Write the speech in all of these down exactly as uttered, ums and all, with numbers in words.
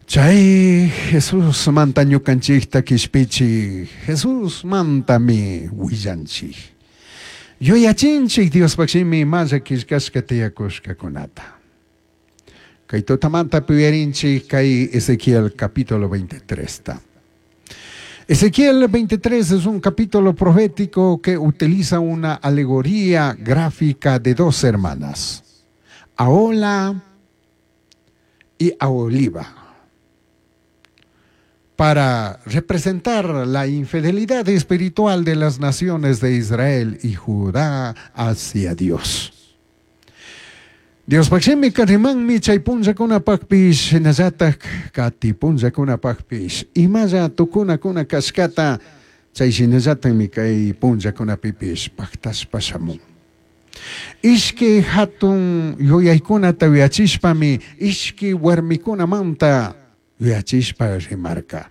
Chay Jesusmanta ñukanchikta kishpichik, Jesusmantami willanchik. Yuyachinchik Diospaq shimi imalla killkashka tiyakushkakunata. Kay tutamanta uyarinchik kay Ezequiel capítulo veintitrés. Ezequiel veintitrés es un capítulo profético que utiliza una alegoría gráfica de dos hermanas, Ahola y Aholiba, para representar la infidelidad espiritual de las naciones de Israel y Judá hacia Dios. Diospaq shimika rimanmi chay punllakunapaqpish shinallatak kati punllakunapaqpish imalla tukunakuna kashkata chay shinallatakmi kay punllakunapipish pactashpa shamun. Ishki hatun yuyaykunata yuyachishpami ishki warmikunamanta yuyachishpa rimarka.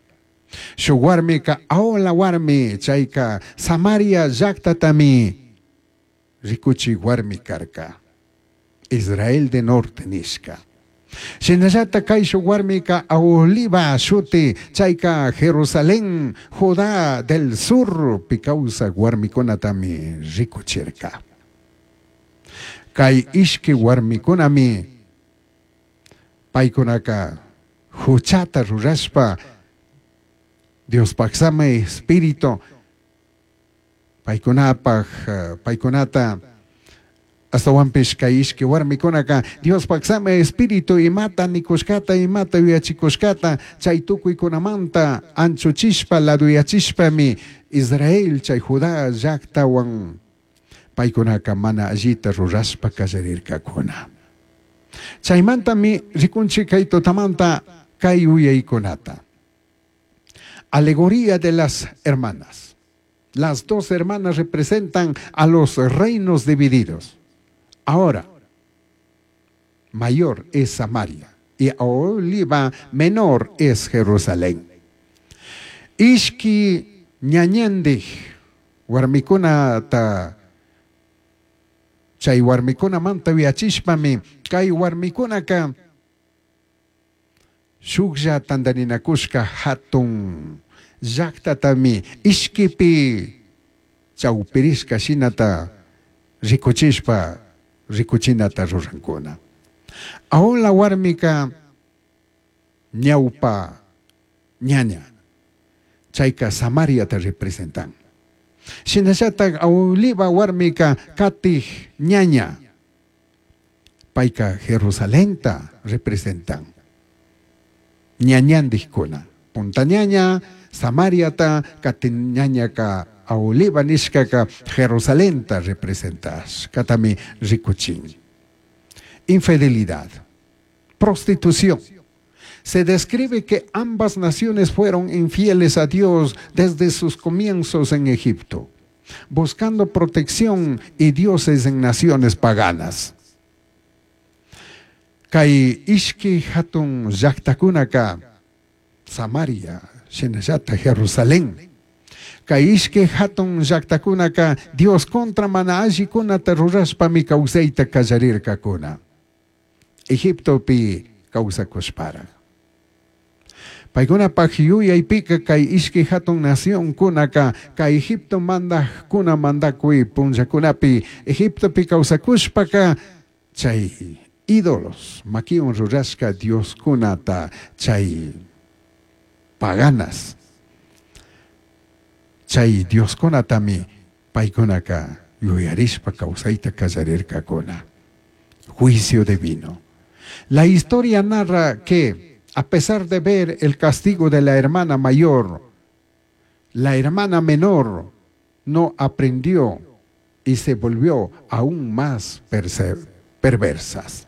Shuk warmika Ahola warmi chayka Samaria llaktatami rikuchik warmi karka. Israel de norte nishka. Shinallata kay shuk warmika Aholiba shuti chayka Jerusalén, Judá del sur pikawsak warmikunatami rikuchirka. Kay ishki warmikunami paykunaka huchata rurashpa Diospaq samay espíritu paykunapaq paykunata astawanpish kay ishki warmikunaka Diospaq samay espíritu imata nikushkata imata yuyachikushkata chay tukuykunamanta anchuchishpa laduyachishpami Israel chay Judá llaqtawan paykunaka mana allita rurashpa kallarirkakuna. Chaymantami rikunchik kay tutamanta kay yuyaykunata. Alegoría de las hermanas. Las dos hermanas representan a los reinos divididos. Ahora, mayor es Samaria y Aholiba menor es Jerusalén. Ishki ñañandij warmikunata chay warmikunamanta yuyachishpami kay warmikunaka shuklla tantarinakushka hatun llaqtatami ishkipi chawpirishka shinata rikuchishpa rikuchinata rurankuna. Ahola warmika ñawpa ñaña chayka Samariata representan. Shinallatak Aholiba warmika katij ñaña payka Jerusalenta representan. Ñañandijkuna punta ñaña Samariata kati ñañaka Aholiba nishkaka Jerusalenta representas katami rikuchin. Infidelidad, prostitución. Se describe que ambas naciones fueron infieles a Dios desde sus comienzos en Egipto, buscando protección y dioses en naciones paganas. Kay ishki hatun llaqtakunaka Samaria, shinallata Jerusalén. Kay ishki hatun llaqtakunaka Dios contra mana allikunata rurashpami kawsayta kallarirkakuna. Egiptopi kawsakushpara. Paykunapaq yuyaypika kay ishki hatun nacionkunaka kay Egipto mandaqkuna mandakuy punllakunapi Egiptopi kawsakushpaka chay ídolos makiwan rurashka dioskunata chay paganas chay dioskunatami paykunaka yuyarishpa kawsayta kallarirkakuna. Juicio divino. La historia narra que a pesar de ver el castigo de la hermana mayor, la hermana menor no aprendió y se volvió aún más perversas.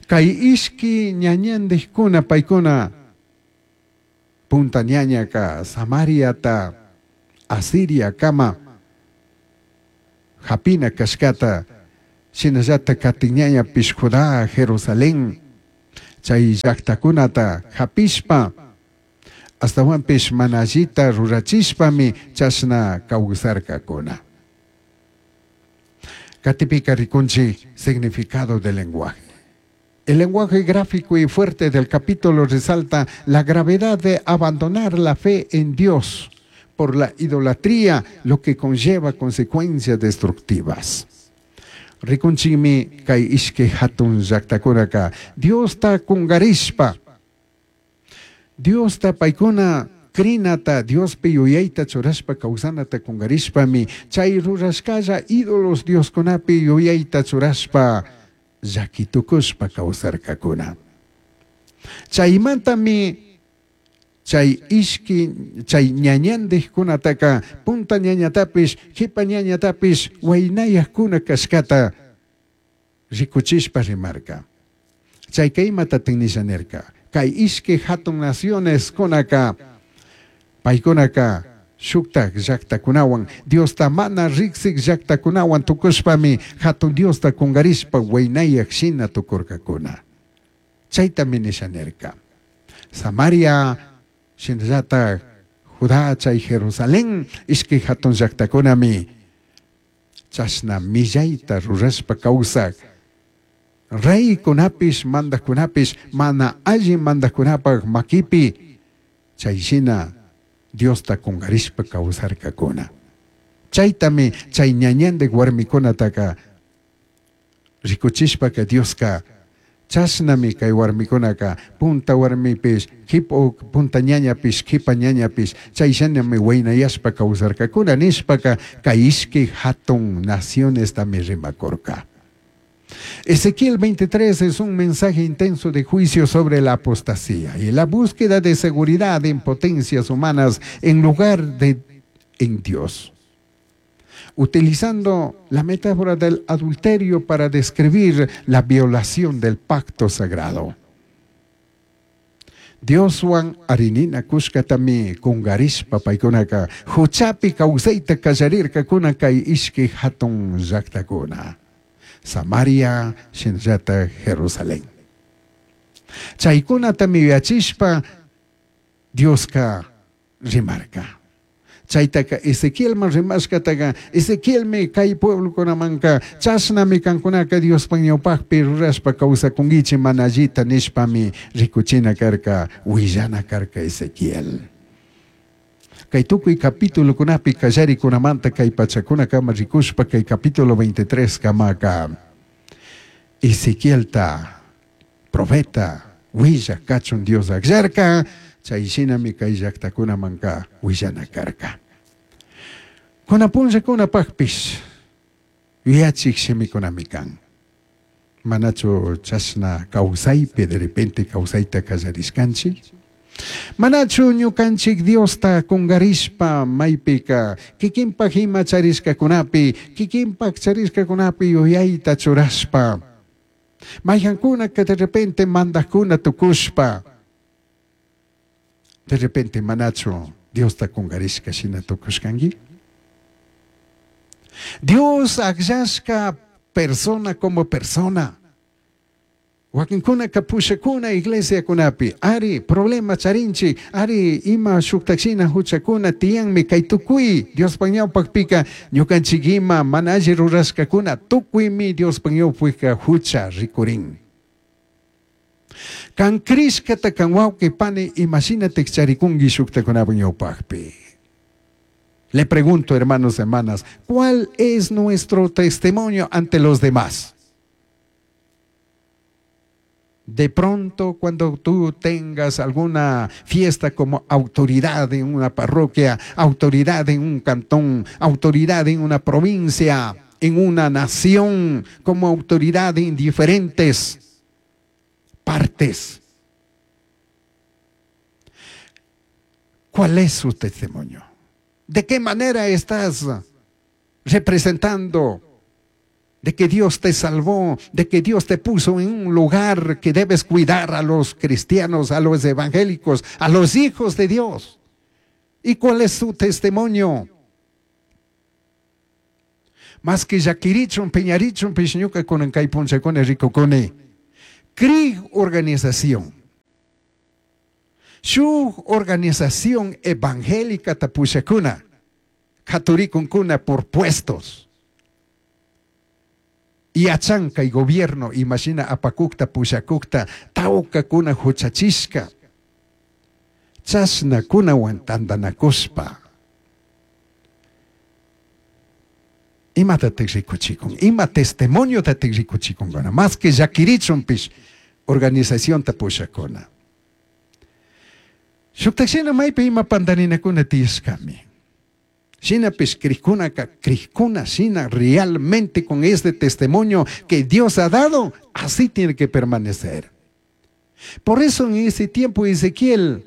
Kay ishki ñañandijkuna paykuna punta ñañaka Samariata Asiria kama hapina kashkata shinallata katiñañapish Judá Jerusalén chay llaqtakunata hapishpa astawanpish mana allita rurachishpami chashna kawsarkakuna. Katipika rikunchik significado del lenguaje. El lenguaje gráfico y fuerte del capítulo resalta la gravedad de abandonar la fe en Dios por la idolatría, lo que conlleva consecuencias destructivas. Rikunchikmi kay ishkay hatun llaqtakunaka Diosta kungarishpa, Diosta paykuna crinata, Diospi yuyayta churashpa kawsanata kungarishpami chay rurashkalla ídolos Dioskunapi yuyayta churashpa llakitukushpa kawsarkakuna. Chaymantami chay ishki chay ñañandiqkunataka punta ñañatapish qipa ñañatapish waynayaqkuna kashkata rikuchishpa rimarka. Chayka imatatik nisha nirka? Kay ishki hatun naciones kunaka paykunaka shuktak llaqtakunawan Diosta mana riksik llaqtakunawan tukushpami hatun Diosta kungarishpa waynayaq shina tukurkakuna. Chaytami nisha nirka. Samaria shinallatak Judá chay Jerusalén ishkay hatun llaqtakunami chashna millayta rurashpa kawsak reykunapish mandaqkunapish mana alli mandaqkunapaq makipi chay shina Diosta kungarishpa kawsarkakuna. Chaytami chay ñañandik warmikunataka rikuchishpaka Dioska chashnami kay warmikunaka punta warmipish qipa punta ñañapish qipa ñañapish chay shinami waynayashpa kawsarkakuna nishpaka kay ishkay hatun nacionestami rimakurka. Ezequiel veintitrés es un mensaje intenso de juicio sobre la apostasía y la búsqueda de seguridad en potencias humanas en lugar de en Dios. Utilizando la metáfora del adulterio para describir la violación del pacto sagrado. Dioswan arinina kushkatami kungarishpa paykunaka huchapi kawsayta kallarirkakuna kay ishkay hatun llaqtakuna. Samaria, shinallata Jerusalén. Chaykunatami yuyachishpa Dioska rimarka. Chaytaka Ezequielman rimashkataka Ezequielmi kay pueblokunamanka chashnami kankunaka Diospa ñawpaqpi rurashpa kawsakunkichik mana allita nishpami rikuchina karka willana karka Ezequiel. Kay tukuy capítulokunapi kallarikunamanta kay pachakunakama rikushpa kay capítulo veintitrés kamaka Ezequielta profeta willaq kachun Dios akllarka chay shinami kay llaqtakunamanka willana karka. Kunan punllakunapaqpish yuyachik shimikunami kan. Manachu chashna kawsaypi de repente kawsayta kallarishkanchik? Manachu ñukanchik Diosta kungarishpa maypika kikinpaq ima charishkakunapi kikinpaq charishkakunapi yuyayta churashpa mayqankunaka de repente mandaqkuna tukushpa de repente manachu Diosta kungarishka shina tukushkanki? Dios akllashka persona como persona. Wakinkunaka pushakuna iglesiakunapi ari problema charinchik ari ima shuktakshina huchakuna tiyanmi kay tukuy Diospa ñawpaqpika ñukanchik ima mana alli rurashkakuna tukuymi Diospa ñawpaqpika hucha rikurin. Kan krishkata kan wawqi pani imashinatik charikunki shuktakunapa ñawpaqpi. Le pregunto, hermanos, hermanas, ¿cuál es nuestro testimonio ante los demás? De pronto, cuando tú tengas alguna fiesta como autoridad en una parroquia, autoridad en un cantón, autoridad en una provincia, en una nación, como autoridad en diferentes partes, ¿cuál es su testimonio? ¿De qué manera estás representando de que Dios te salvó, de que Dios te puso en un lugar que debes cuidar a los cristianos, a los evangélicos, a los hijos de Dios? ¿Y cuál es su testimonio? Más que llakirichun, piñarichun, pishñuka kunan kay punchakuna rikukuni. C R I G organización. Shuk organización evangélica tapushakuna, katurikunkuna por puestos. Yachan kay gobierno imashina apakukta pushakukta tawkakuna huchachishka. Chashnakunawan tantanakushpa. Imatatik rikuchikun, ima testimoniotatik rikuchikunkuna, más que llakirichunpish organizacionta pushakuna. Shuktakshina maypi ima pantarinakuna tiyashkami. Shinapish krikkunaka, krikuna shina realmente con este testimonio que Dios ha dado, así tiene que permanecer. Por eso en ese tiempo Ezequiel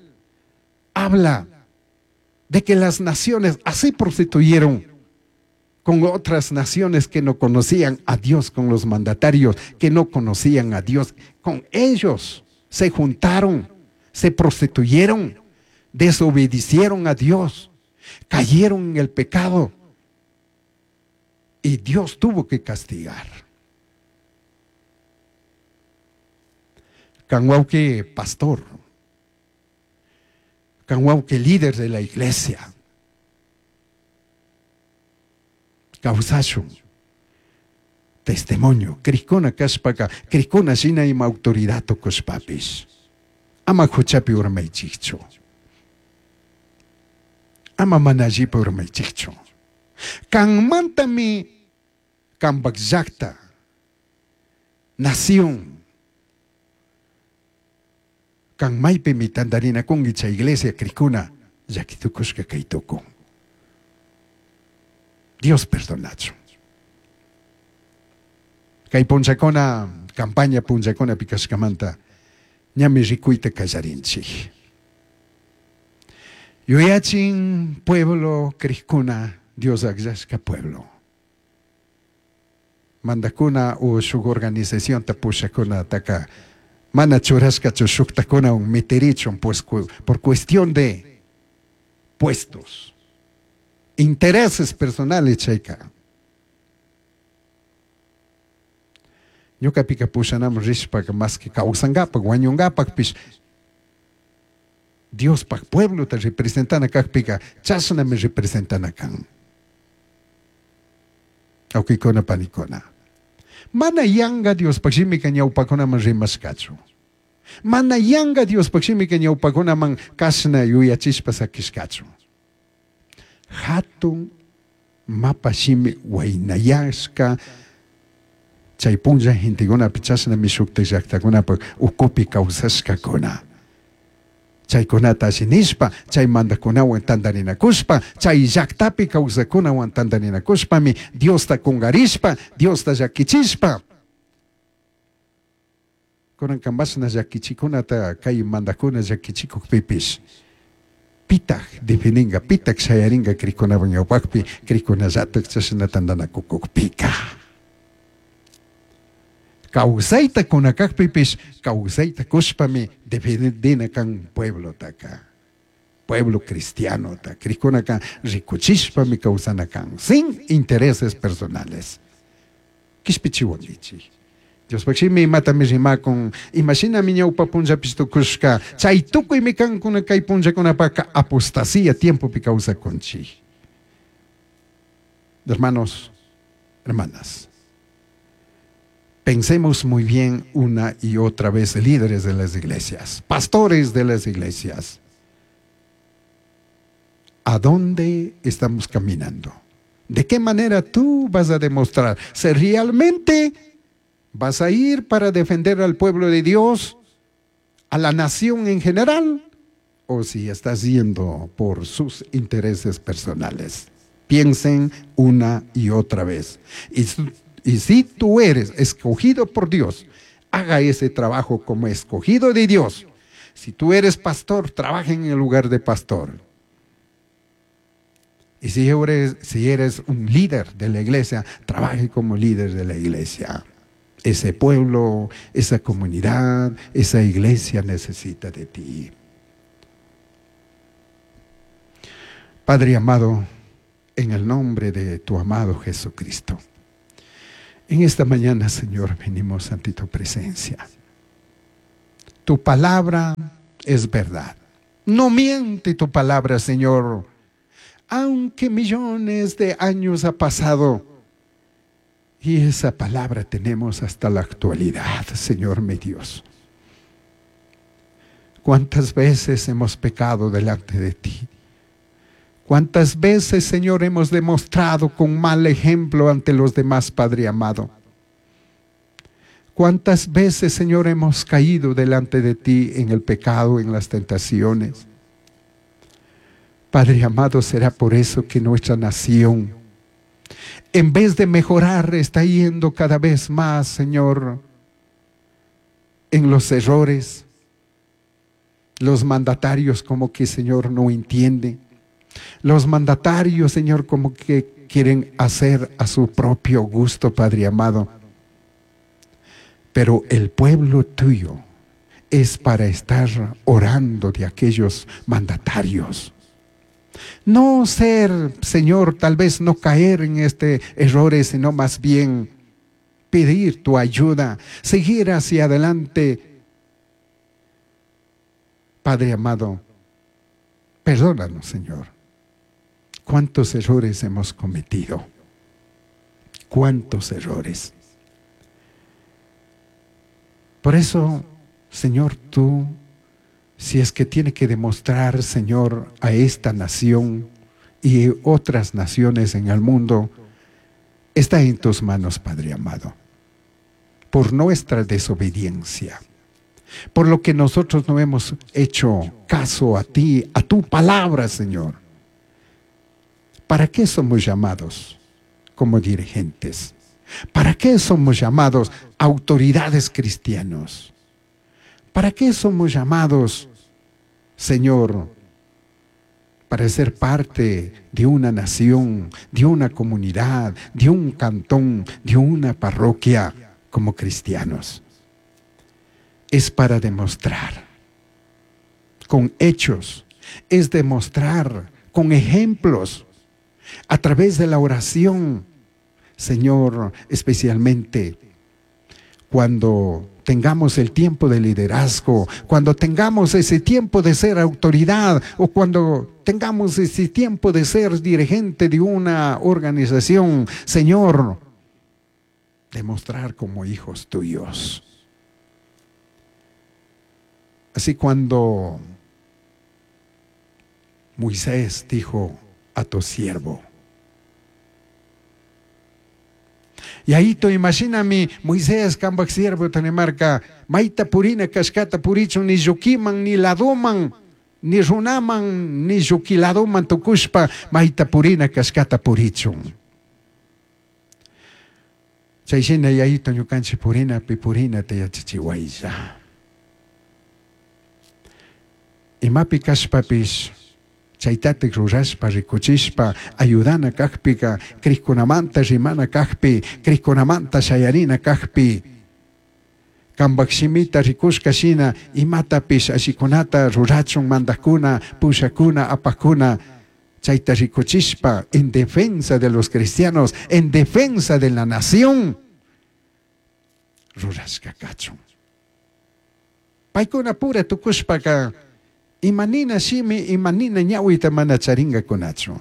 habla de que las naciones así prostituyeron con otras naciones que no conocían a Dios, con los mandatarios que no conocían a Dios. Con ellos se juntaron, se prostituyeron, desobedecieron a Dios, cayeron en el pecado y Dios tuvo que castigar. Kanwauke pastor, kanwauke líder de la iglesia, kawsashun testimonio, krikuna kashpaka, krikuna shina ima autoridad tukushpapish. Ama huchapi urmaychikchu. Ama mana allipi urmaychikchu. Kanmantami kanpak llakta, nación, kan maypimi tantarinakunki chay iglesia krikuna llakitukushka kay tukun. Dios perdonachun. Kay punchakuna, campaña punchakuna pikashkamanta, ñami rikuyta kallarinchik. Yuyachin pueblo krikuna, Dios akllashka pueblo. Mandakuna o shuk organización ta pushakuna taka mana churashkachu shuktakuna un meterichun pues por cuestión de puestos, intereses personales chayka. Ñuqapika pushanaman rishpaka más que kawsankapak wañunkapakpish Diospaq pueblota representana kaqpika chashnami representana kan. Awkikuna panikuna. Mana yanqa Diospaq shimika ñawpakunaman rimashkachu. Mana yanqa Diospaq shimika ñawpakunaman kashna yuyachishpa sakishkachu. Hatun mapa shimi waynayashka chay punlla gentekunapi chashnami shuktak llaktakunapak ukupi kawsashkakuna. Chaykunata alli nishpa, chay mandakunawan tantarinakushpa, chay llaktapi kawsakunawan tantarinakushpami Diosta kungarishpa, Diosta llakichishpa. Kunanka mashna llakichikunata kay mandakuna llakichikukpipish pitak defininga, pitak shayaringa krikunawan ñawpakpi, krikunallatak chashna tantanakukukpika. Kawsayta kunakakpipish, kawsayta kushpami defendina kan pueblotaka, pueblo cristianota, krikunaka rikuchishpami kawsana kan, sin intereses personales. Kishpichiwankichik. Diospaq shimi imatami rimakun, imashinami ñawpa punllapish tukushka, chay tukuymi kankuna kay punllakunapaka apostasía tiempopi kawsakunchik. Hermanos, hermanas, pensemos muy bien una y otra vez, líderes de las iglesias, pastores de las iglesias. ¿A dónde estamos caminando? ¿De qué manera tú vas a demostrar si realmente vas a ir para defender al pueblo de Dios, a la nación en general, o si estás yendo por sus intereses personales? Piensen una y otra vez. Y Y si tú eres escogido por Dios, haga ese trabajo como escogido de Dios. Si tú eres pastor, trabaja en el lugar de pastor. Y si eres, si eres un líder de la iglesia, trabaje como líder de la iglesia. Ese pueblo, esa comunidad, esa iglesia necesita de ti. Padre amado, en el nombre de tu amado Jesucristo, en esta mañana, Señor, venimos ante tu presencia. Tu palabra es verdad. No miente tu palabra, Señor. Aunque millones de años ha pasado, Y esa palabra tenemos hasta la actualidad, Señor mi Dios. ¿Cuántas veces hemos pecado delante de ti? ¿Cuántas veces, Señor, hemos demostrado con mal ejemplo ante los demás, Padre amado? ¿Cuántas veces, Señor, hemos caído delante de ti en el pecado, en las tentaciones? Padre amado, será por eso que nuestra nación, en vez de mejorar, está yendo cada vez más, Señor, en los errores. Los mandatarios como que, Señor, no entienden. Los mandatarios, Señor, como que quieren hacer a su propio gusto, Padre amado. Pero el pueblo tuyo es para estar orando de aquellos mandatarios. No ser, Señor, tal vez no caer en este errores, sino más bien pedir tu ayuda, seguir hacia adelante. Padre amado, perdónanos, Señor. ¿Cuántos errores hemos cometido? ¿Cuántos errores? Por eso, Señor, tú, si es que tiene que demostrar, Señor, a esta nación y otras naciones en el mundo, está en tus manos, Padre amado, por nuestra desobediencia, por lo que nosotros no hemos hecho caso a ti, a tu palabra, Señor. ¿Para qué somos llamados como dirigentes? ¿Para qué somos llamados autoridades cristianos? ¿Para qué somos llamados, Señor, para ser parte de una nación, de una comunidad, de un cantón, de una parroquia como cristianos? Es para demostrar con hechos, es demostrar con ejemplos, a través de la oración, Señor, especialmente cuando tengamos el tiempo de liderazgo, cuando tengamos ese tiempo de ser autoridad o cuando tengamos ese tiempo de ser dirigente de una organización, Señor, demostrar como hijos tuyos. Así cuando Moisés dijo a tu siervo, y ahí tú imagíname Moisés kambaj siervo tanimarka maita purina kashkata purichun ni llukiman ni ladoman ni runaman ni llukiladoman tukushpa maita purina kashkata purichun. Chay shina yayito ñukanchik purinapi purinata yachachiwaylla. Imapi kashpapish chaytatik rurashpa rikuchishpa ayudana kajpika krikkunamanta rimana kajpi krikkunamanta shayarina kajpi kambaj shimita rikushka shina imatapish ashikunata rurachun mandakuna pushakuna apakuna chayta rikuchishpa en defensa de los cristianos, en defensa de la nación rurashka kachun. Paykuna pura tukushpaka imanina shimi, imanina ñawita mana charingakunachu.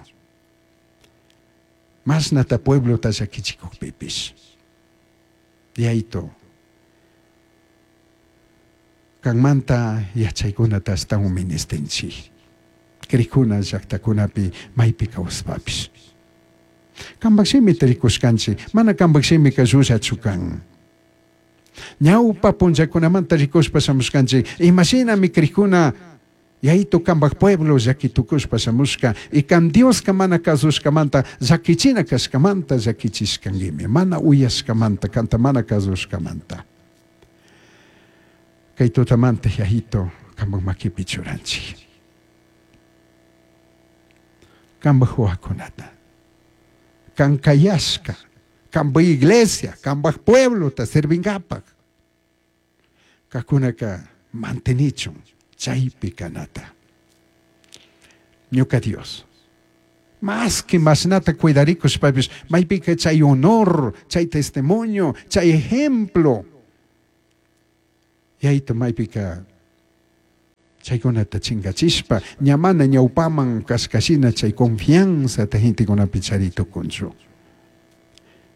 Mashnata pueblota llakichikukpipish. Yayto, kanmanta yachaykunata ashtawan ministinchik. Krikuna llaktakunapi maypi kawspapish. Kambaj shimita rikushkanchik, mana kambaj shimika llullachu kan. Ñawpa punllakunamanta rikushpa shamushkanchik, imashinami krikuna yayito kambaj pueblo llakitukushpa shamushka y kan Dioska mana kasushkamanta llakichina kashkamanta llakichishkankimi, mana uyashkamanta kanta mana kasushkamanta. Kay tutamanta yayito kambaj makipi churanchik. Kambaj wawakunata, kan kayashka, kambaj iglesia, kambaj pueblota servinkapak. Kakunaka mantenichun chaypi kanata. Ñuka Dios, más que mashnata cuidarikushpapish, maypika chay honor, chay testimonio, chay ejemplo. Yayto maypika chaykunata chingachishpa, ña mana ñawpaman kashkashina chay confianza ta gentekunapi charitukunchu.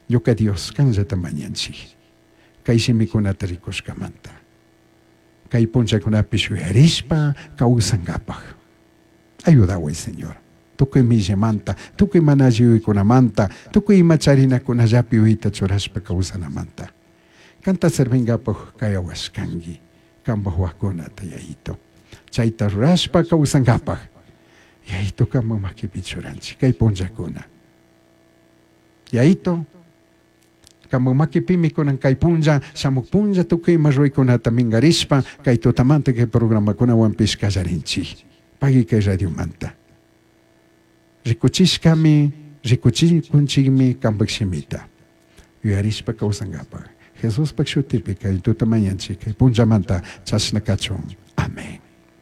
Ñuka Dios kanllata mañanchik. Kay shimikunata rikushkamanta. Kay punllakunapi yuyarishpa kawsankapaj. Ayudaway, Señor. Tukuy millamanta, tukuy mana alli yuyaykunamanta, tukuy ima charinakunallapi yuyayta churashpa kawsanamanta. Kanta servinkapaj kayawashkanki, kanpaj wawakunata, Yayito. Chayta rurashpa kawsankapaj. Yayito kanpak makipi churanchik kay punllakuna. Yayito, kanpak makipimi kunan kay punlla, shamuk punlla tukuy ima ruraykunata minkarishpa, kay tutamanta kay programakunawanpish kallarinchik. Pagui kay radiomanta. Rikuchishkami, rikuchikunchikmi kanpak shimita. Yuyarishpa kawsankapaj. Jesuspak shutipi kay tuta mañanchik, kay punllamanta chashna kachun. Amén.